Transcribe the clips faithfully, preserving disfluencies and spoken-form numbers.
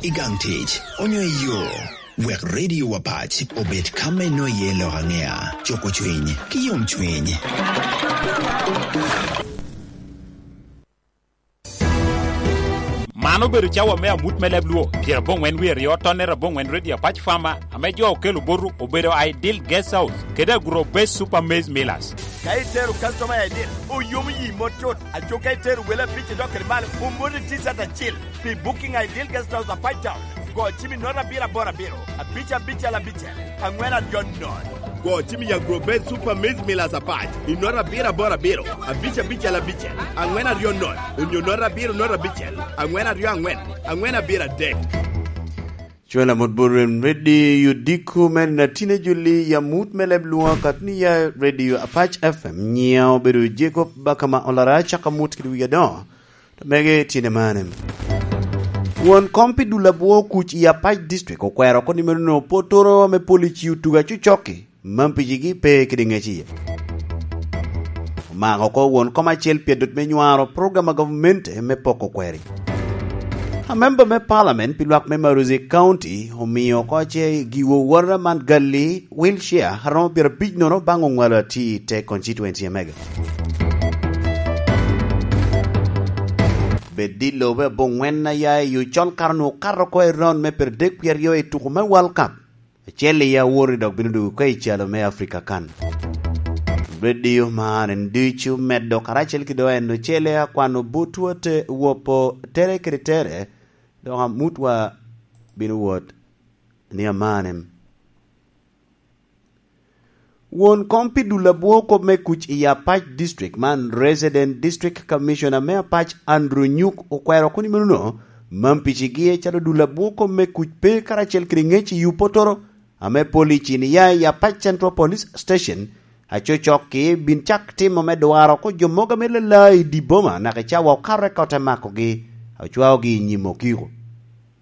I gang tic, onyo i yo, wek Radio Apac obed ka me nwoŋo iye lok aŋea, cuko cwiny, ki yomcwiny. Man obedo cawa me amut me leb Luo, pyeraboŋwen wie aryo, tonnere aboŋwen, Radio Apac Farmer, ame jo okelo botu obedo Ideal Guest House kede Agro Base Super Maize Millers. Ka itero customer I D, oyomo yi mot cut. Aco ka itero wele abic i dok kede malo, omoti T-shirt acil pi Booking Ideal Guest House Apac Town. Go cim i note abiro aboro abiro, abic abicel abicel, aŋwen aryo nono. Go cim i Agro Base Super Maize Millers Apac i note abiro aboro abiro, abic abicel abicel, aŋwen aryo nono, onyo note abiro note abicel, aŋwen aryo aŋwen, aŋwen abiro adek. Cwela mot bot rem ready, yudiko men a tine juli ya mut me leb Luo kat ni ya Radio Apac F M, nyiŋa obedo Jacob Bakama Olara, caka mut kede wi adoŋo. To mege tine mane. Won kom pi dul abwo kuc i Apac District okwero oko ni meno Opotoro ame pol i ci otugo acocokki, man picigi pe kede ŋec iye. Omako oko won kom acel pi adot me nywaro program a gavumenti me poko kweri. Amemba me Parliament pi lwak me Marozi County omio oko ce giwo wora man gali wheelchair a romo pyerabic nono baŋ oŋwalo ati i te constituency a mege. Bed i lobo aboŋwen a ya i ocol kare onwoŋo okato oko i raun me pyeradek wie aryo i tuko me World Cup. Acel i awor-ri dok bino dwogo oko i calo me Africa kan. Radio man en ducu medo karacel ki doŋ en ocele akwano butwa te wopo tere kede tere, dok amutwa bino wot ni amanem. Won kom pi dul abwo kop me kuc i Apac District man, Resident District Commissioner me Apac Andrew Nyuk okwero oko ni meno no, man picigi calo dul abwo kop me kuc pe karacel kede ŋec i Opotoro, ame police ni ya i Apac Central Police Station, acocokki bin cak timo me dwaro oko jo mogo ame lala i dye boma naka i cawa okato eka ote makogi, ocwaogi i nyim okiko.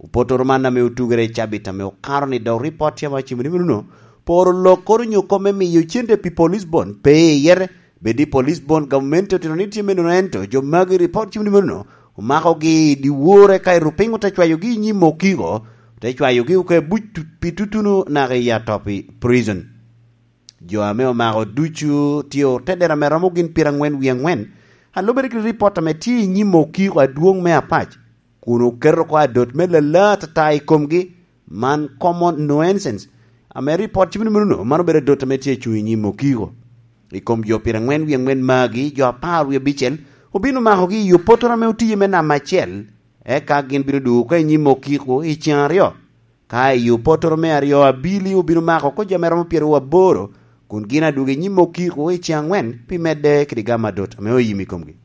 Opotoro man ame otugere i cabit ame okato ni dok ripot tye ame ocimo ni meno no, poro lokkoro nyo kop me miyo cente pi police bond pe i yere, bed i police bond gavumenti otito ni tye me nono, ento jo magi ripot cimo ni meno no, omakogi i dyewor eka i rupiny ote cwayogi i nyim okiko, ote cwayogi oko i buc tu-, pi tutuno naka i Atopi Prison. Jo ame omako ducu tye otedero ame romo gin pyeraŋwen wie aŋwen, a lubere kede ripot ame tye i nyim okiko adwoŋ me Apac, kun oketo oko adot me lala atata i komgi, man common nuisance, ame ripot cimo ni meno no, man obedo adot ame tye acuŋ i nyim okiko. I kom jo pyeraŋwen wie aŋwen magi, jo apar wie abicel obino makogi i Opotoro ame otiye me namba acel, eka gin bino dwogo oko i nyim okiko i ceŋ aryo. Ka i Opotoro me aryo, abili obino mako oko jo ame romo pyeraryo aboro, kun gin adwogo i nyim okiko i ceŋ aŋwen pi medde kede gamo adot ame oyim i komgi.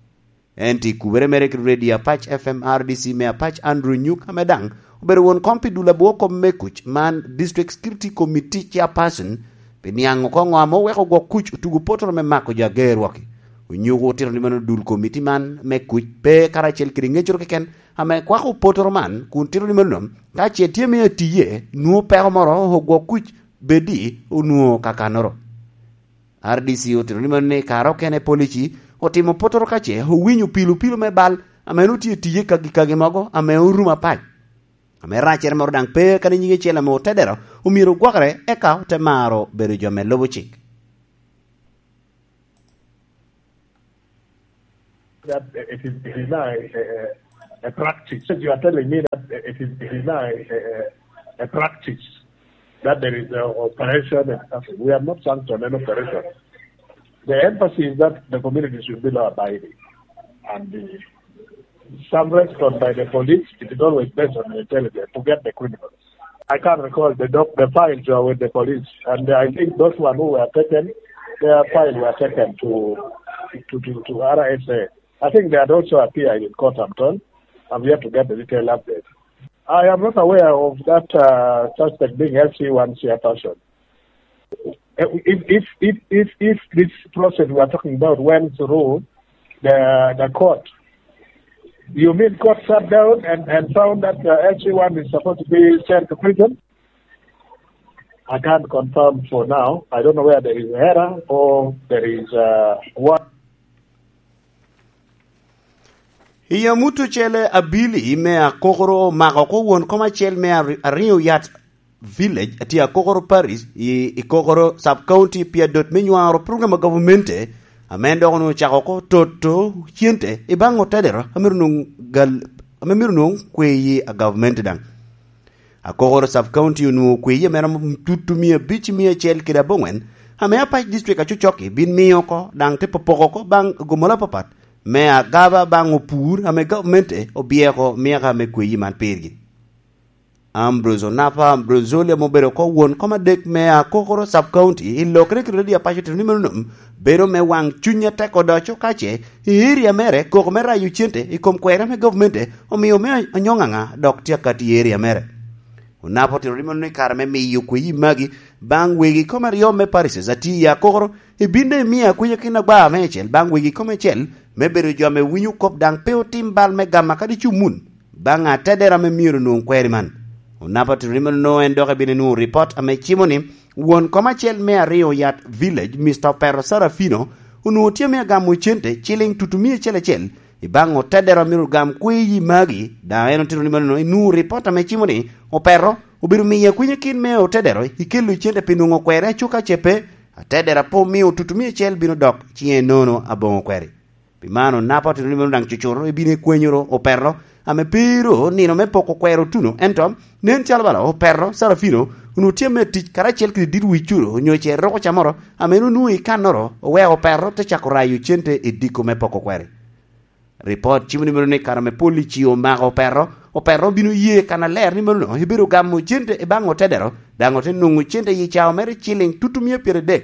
Ento i kubere mere kede Radio Apac F M R D C me Apac, Andrew Nyuk, ame daŋ obedo won kom pi dul abwo kop me kuc man, District Security Committee Chairperson, pi niaŋ oko ŋo ame oweko gwok kuc otugo Opotoro me mako jo ager wok-ki. Onyuko otito ni mano dul komiti man me kuc pe karacel kede ŋeccoro keken ame kwako Opotoro man, kun tito ni mano ka ce tye me atiye, nwoŋo peko moro ogwok kuc bed i onwoŋo kakannoro. R D C otito ni mano ni kare okene polici otimo Opotoro ka ce owinyo pilo pilo me bal ame en otye tiye kagi kagi mogo ame orumo apac. Ame racere moro daŋ pe kadi nyige cel ame otedero omyero ogwokere, eka ote maro bedo jo me lubo cik. That it is, it is now a, a, a practice. You are telling me that it is, it is now a, a, a practice that there is an operation and something. We have not sanctioned an operation. The emphasis is that the community should be law abiding. And the, some response by the police, it is always based on intelligence to get the criminals. I can't recall the doc-, the files are with the police, and I think those one who were taken, their file were taken to, to, to, to R S A. I think they had also appeared in court, I'm told. I'm yet to get the detailed update. I am not aware of that, uh, suspect being L C one chairperson. If, if, if, if, if this process we are talking about went through the, the court, you mean court sat down and, and found that, uh, L C one is supposed to be sent to prison? I can't confirm for now. I don't know where there is error or there is, uh, what. I amut ocele, abili me Akokoro omako oko won kom acel me Ari-, Ariyo Yat Village, atye Akokoro Parish, i, i Kokoro Sub County, pi adot me nywaro program a gavamente, ame en dok onwoŋo ocako oko toto cente i baŋ otedero, ame myero nwoŋ gal-, ame myero nwoŋ kweyi a gavamente daŋ. Akokoro Sub County onwoŋo kweyi ame romo tutu mia abic i mia acel kede aboŋwen, ame Apac District acocokki bin miyo oko, daŋ te popoko oko baŋ gomola apapat, me agaba baŋ opur ame gavmente obyeko myaka me kweyi man pirgi. Ambrose Onapa Ambrozoli ame obedo oko won kom adek me Akokoro Sub County i lokere kede redio Apac otito ni meno nom bedo me waŋ cuny atek odoco ka ce i area mere koko me rayo cente i kom kwera me gavmente omio me anyoŋaŋa dok tye akati i area mere. Onapa otito ni meno ni kare me miyo kweyi magi baŋ wegi kom aryo me parishes atye i Akokoro, ibin daŋ imio akwinya kin agba me acel baŋ wegi kom acel, me bedo jo ame winyo kop daŋ pe otim bal me gama kadi cumun baŋ atedera ame myero onwoŋ kweri man. Onapa otito ni meno en dok ebino nwoŋo ripot ame cimo ni won kom acel me Ariyo Yat Village, Mister Opero Sarafino, onwoŋo tye ame agamo cente ciliŋ tutu mia acel acel i baŋ otedero a myero ogam kweyi magi, daŋ en otito ni meno enwoŋo ripot ame cimo ni Opero obedo miyo akwinya kin me otedero i kelo cente pi nwoŋo kwere acuka ce pe, atedero a pe omio tutu mia acel bino dok ciŋe nono aboŋo kweri. Pi man, Onapa otito ni meno daŋ cucuro ebino ekwenyoro Opero ame pe ru nino me poko kwero otuno, ento nen calo bala Opero Sarafino onwoŋo tye ame tic karacel kede dit wic curo onyo ce roko camoro ame en onwoŋo i kannoro oweko Opero te cako rayo cente i diko me poko kweri. Ripot cimo ni meno ni kare ame polici omako Opero, Opero obino ye kannaler ni meno ebedo gamo cente i baŋ otedero, daŋ ote nwoŋo cente i cawa mere ciliŋ tutu mia pyeradek.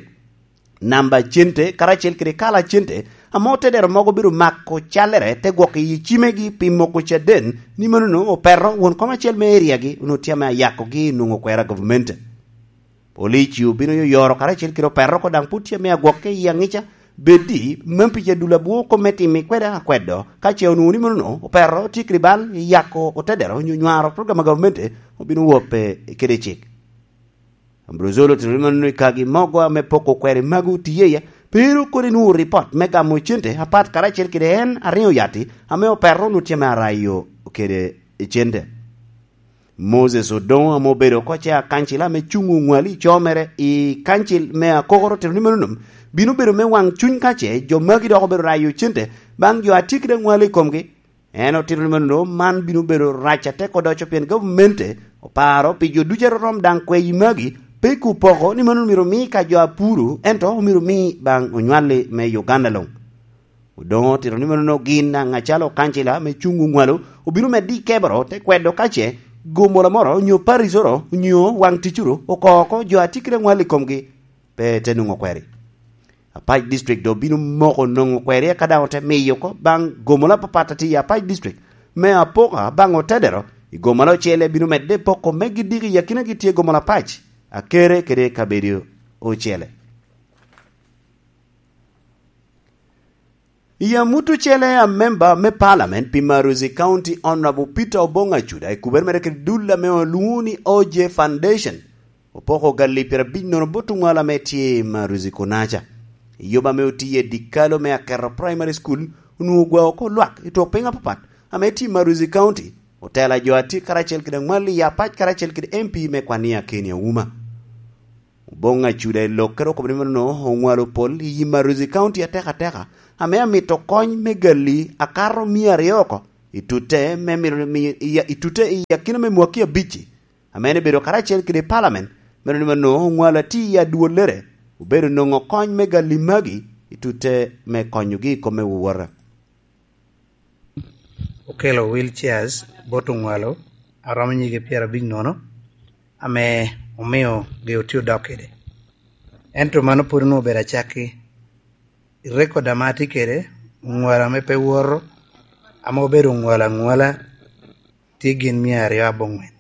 Namba cente karacel kede kala cente ame otedero mogo obedo mako callere te gwoko i cimegi pi moko caden ni meno Opero won kom acel me eriagi onwoŋo tye ame ayakogi nwoŋo kwera gavumenti. Polici obino yoyoro karacel kede Opero oko daŋ pwod tye ame agwokke i aŋica, bed di mem pi jadul abwo kop me timi kwede akwedo, ka ce onwoŋo ni meno Opero tye kede bal i yako otedero onyo nywaro program a gavumenti obino wobbe kede cik. Ambrozolo otito ni meno i kagi mogo ame poko kweri magi otiye iye, pe ru kono inwoŋo ripot me gamo cente apat karacel kede en Ariyo Yati ame Opero onwoŋo tye ame arayo kede cente. Moses Odoŋo ame obedo oko ce akancila ame cuŋ oŋwali i co mere i kancil me Akokoro otito ni meno bino bedo me waŋ cuny ka ce jo magi dok obedo rayo cente baŋ jo a tye kede aŋwali i komgi. En otito ni meno man bino bedo rac atek odoco pien gavumenti oparo pi jo ducu a rorom daŋ kweyi magi pe i kubo oko ni meno myero omi ka jo a puro, ento myero omi baŋ onywali me Uganda luŋ. Odoŋo otito ni meno gin daŋ acalo kancila me cuŋ oŋwalo obino medde i keboro te kwedo ka ce gomola moro onyo paricoro onyo waŋ ticoro oko oko jo a tye kede aŋwal i komgi pe te nwoŋo kweri. Apac District doŋ bino moko nwoŋo kweri eka daŋ ote miyo oko baŋ gomola apapat a tye i Apac District me apoka baŋ otedero i gomola ocele bino medde poko me gidiki i akinagi tye gomola Apac, Akere kede kabedo ocele. I amut ocele, amemba me Parliament pi Maruzi County, Honorable Peter Obong Acuda, i kubere mere kede dul ame olwoŋo ni O J Foundation, opoko galli pyerabic nono bot oŋwalo ame tye i Maruzi kunaca. I yoba ame otiye dikalo me Aketo Primary School, onwoŋo ogwao oko lwak i twok piny apapat ame tye i Maruzi County, otela jo a tye karacel kede aŋwal i Apac karacel kede M P me kwan i Akeni Auma. Oboŋ Acuda i lokkere okobo ni meno oŋwalo pol i Maruzi County atekateka, ame amito kony me galli akato mia aryo oko i tutte me mito mi-, i, i tutte i akina me mwaki abicci, ame en obedo karacel kede Parliament, meno ni meno oŋwalo ati i adwollere, obedo nwoŋo kony me galli magi i tutte me konyogi i kom me wowota. Okelo wheelchairs bot oŋwalo a romo nyige pyerabic nono, ame omio gi otye odok kede. Ento mano pwod onwoŋo obedo acakki. I record ame atye kede, oŋwalo ame pe woto, ame obedo oŋwalo aŋwala, tye gin mia aryo aboŋwen.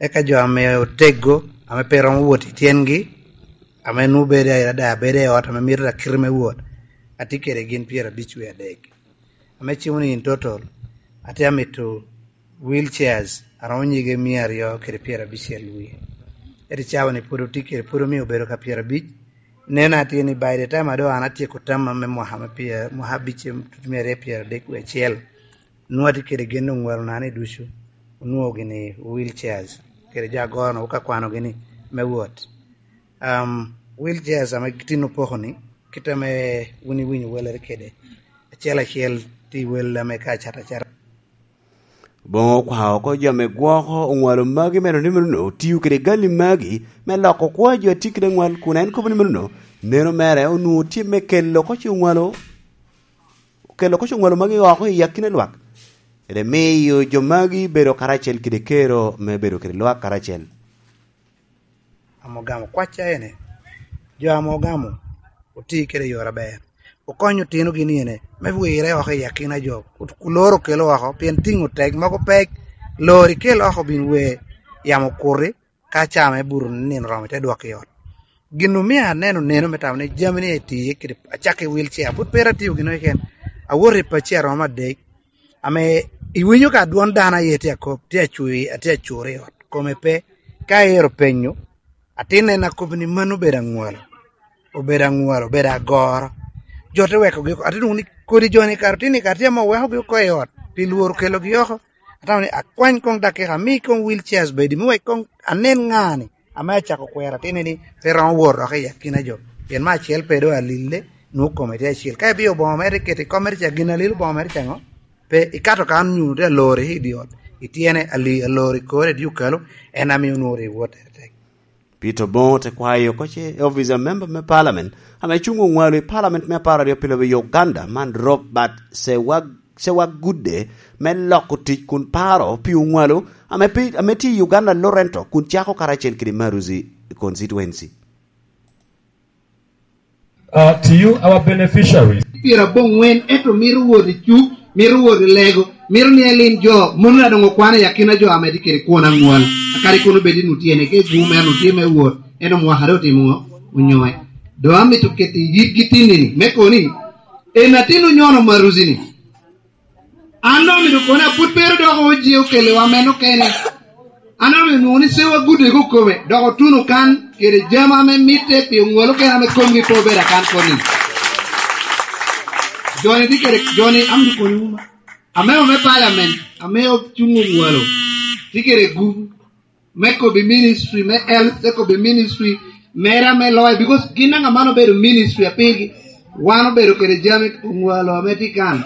Eka jo ame oteggo, ame pe romo wot i tyengi, ame nwoŋo bedo i ada, bedo i ot ame mito akiti me wot, atye kede gin pyerabic wie adek. Ame cimo ni in total, atye amito wheelchairs a romo nyige mia aryo kede pyerabicel wie. Ento cawa ni pwod otye kede, pwod omio obedo ka pyerabic. Neno atye ni by the time a doŋ an atyeko tamma me mwaka me pyer-, mwaka abic, tutu mia aryo pyeradek wie acel, Nwoŋo atye kede gen oŋwalo nani ducu, onwoŋo gini wheelchairs, kede jo agoro-nu ka kwanogi ni me wot. Um, wheelchairs ame tin opoko ni, kit ame wun iwinyo welere kede, acel acel tye i wel ame ka acat acata. Boŋo okwao oko jo ame gwoko oŋwalo magi me nonino nonino, otiyo kede gali magi me loko kwo a jo a tye kede aŋwal, kun en kobo ni menono, neno mere onwoŋo tye me kelo oko ce oŋwalo, kelo oko ce oŋwalo magi oko i akina lwak, kede miyo jo magi bedo karacel kede kero me bedo kede lwak karacel. Ame ogamo kwacca ene, jo ame ogamo oti kede yore aber, okonyo otinogi ni ene me wirre oko i akina jo, oloro kelo oko, pien tiŋo tek mogo pek, lori kel oko bin wer, yamo okuti, ka caa me buto nino oromo ite dwoko i ot. Gin omio aneno neno me tamo ni jami ni etiye kede, acakki wheelchair, pwod pe atye atio gin keken, awoto i pacci aromo adek, ame iwinyo ka dwon dano aye tye akop, tye acur, atye acur i ot, kome pe. Ka ero penyo, atin en akobo ni mano obedo aŋwalo, obedo aŋwalo, obedo agoro. Jo te wekogi oko, atye nwoŋo ni kodi jo-ni kara tye ni kara tye ame owekogi oko i ot, pi lworo kelogi oko. Atamo ni akwany koŋ dakika, ami koŋ wheelchairs bedi, me wek koŋ anen ŋa-ni ame acako kwero atini ni pe romo wot dok i akina jo. Pien me acel pe doŋ alille, nwoŋo kome tye acel. Ka ibio oboŋo mere iketo i kom mere ca, gin alil oboŋo mere ca ŋo? Pe ikato kan nyo te alori i dye ot, ityene ali-, alori kore i dye okalo, en amio nwoŋo ri wot tek. Peter Oboŋo te kwayo oko ce i office a member me parliament ame cuŋ oŋwalo i parliament me apar aryo pi lobo i Uganda man Robert Sewag-, Sewagudde me loko tic kun paro pi oŋwalo ame pi-, ame tye i Uganda Lorento kun cako karacel kede Maruzi constituency. Uh, to you, our beneficiaries. Pyero aboŋwen, ento mito wot i cuk, mito wot i lego, mito ni elin jo, mono na doŋ okwano i akina jo ame tye kede kwon aŋwal. Akadi kono bed ni otye ni ke gum en otye me wot, en omwaka dok otimo ŋo? Onyoe. Doŋ amito keto i yitgi tinni-ni, me koni, en atin onyono Maruzi-ni. An doŋ omito koni, apwod pe ru dok oje okelewa meno kene. An doŋ omito nwoŋo ni Sewagudde ko kome, dok otuno kan kede jami ame mitte pi oŋwalo kene ame komgi pe obedo akan koni. Joni tye kede, joni amito koni wuma. Ame ome parliament, ame ocuŋ oŋwalo, tye kede gupu. Me kobbi ministry me health, te kobbi ministry mera me lawyer, because gin daŋ aman obedo ministry apigi. Wan obedo kede jami oŋwalo ame tye kan.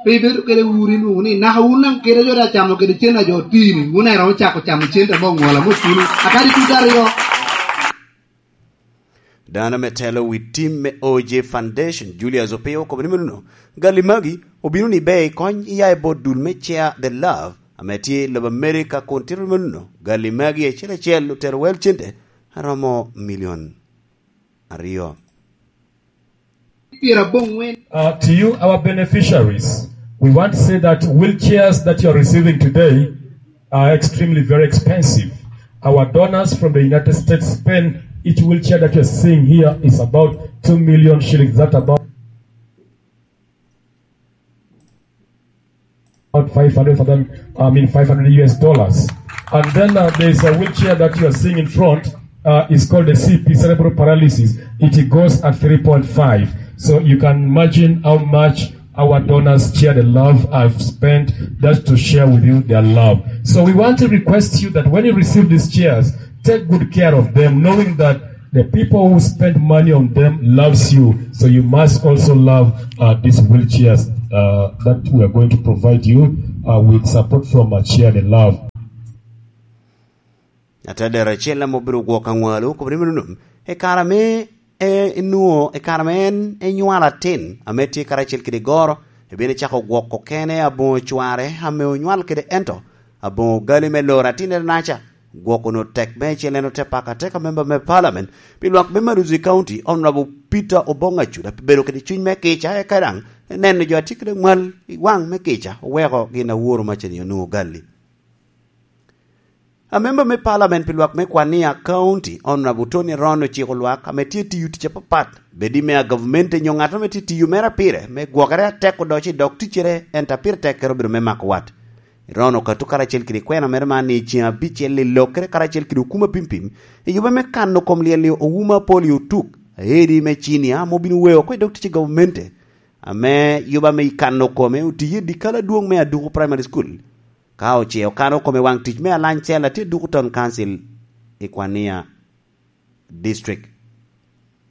Pe ibedo kede wuri nwoŋo ni, naka wun daŋ kede jo daŋ camo kede cen a jo otini, wun daŋ iromo cako camo cen ame oŋwalo ame otuno. Akadi tutu aryo. Dano me telo wi tim me O J Foundation, Julius Opio, okobo ni menono, gali magi obino ni ber i kony i aye bot dul me Share the Love, ame tye i lobo America, kun tito menono, gali magi acel acel otero wel cente aromo milion aryo. Pyeraboŋwen. Uh, to you, our beneficiaries, we want to say that wheelchairs that you are receiving today are extremely very expensive. Our donors from the United States spend, each wheelchair that you're seeing here is about two million shillings. That's about about five hundred thousand, I mean, five hundred U S dollars. And then, uh, there's a wheelchair that you are seeing in front, uh, is called the C P, cerebral paralysis. It goes at three point five. So you can imagine how much our donors Share the Love have spent just to share with you their love. So we want to request you that when you receive these chairs, take good care of them, knowing that the people who spend money on them loves you. So you must also love, uh, these wheelchairs, uh, that we are going to provide you, uh, with support from, uh, Share the Love. Atadero acel ame obedo gwok aŋwalo okobo ni menono, i kare ame e-, enwoŋo, i kare ame en enywalo atin ame tye karacel kede goro, ebino ecako gwoko kene aboŋo cware ame onywal kede ento aboŋo gali me loro atinnere naca. Gwok onwoŋo tek meicel, en ote pako ateka memba me parliament pi lwak me Maruzi County, Honorable Peter Obong Acuda, pi bedo kede cuny me kica, eka daŋ neno jo a tye kede ŋwal i waŋ me kica, oweko gin aworo macani onwoŋo gali. Amemba me parliament pi lwak me Kwania County, Honorable Tony Ron ociko lwak ame tye tiyo tic apapat, bed i mea gavumenti nyo ŋat ame tye tiyo mere pire, me gwokere atek odoco i dog ticcere, ento a pire tekkere obedo me mako wat. Ron okato karacel kede kwena mere man ni i ceŋ abicel i lokkere karacel kede okuma pimpim, i yube me kano kom lyel i Ouma Polio Otuk, aedi me cinia ame obino weo oko i dog tic i gavumenti. ame yuba me kano kome otiye i dyekal adwoŋ me Aduku Primary School, ka oce okano kome waŋ tic me alany cel a tye Aduku Town Council i Kwania District.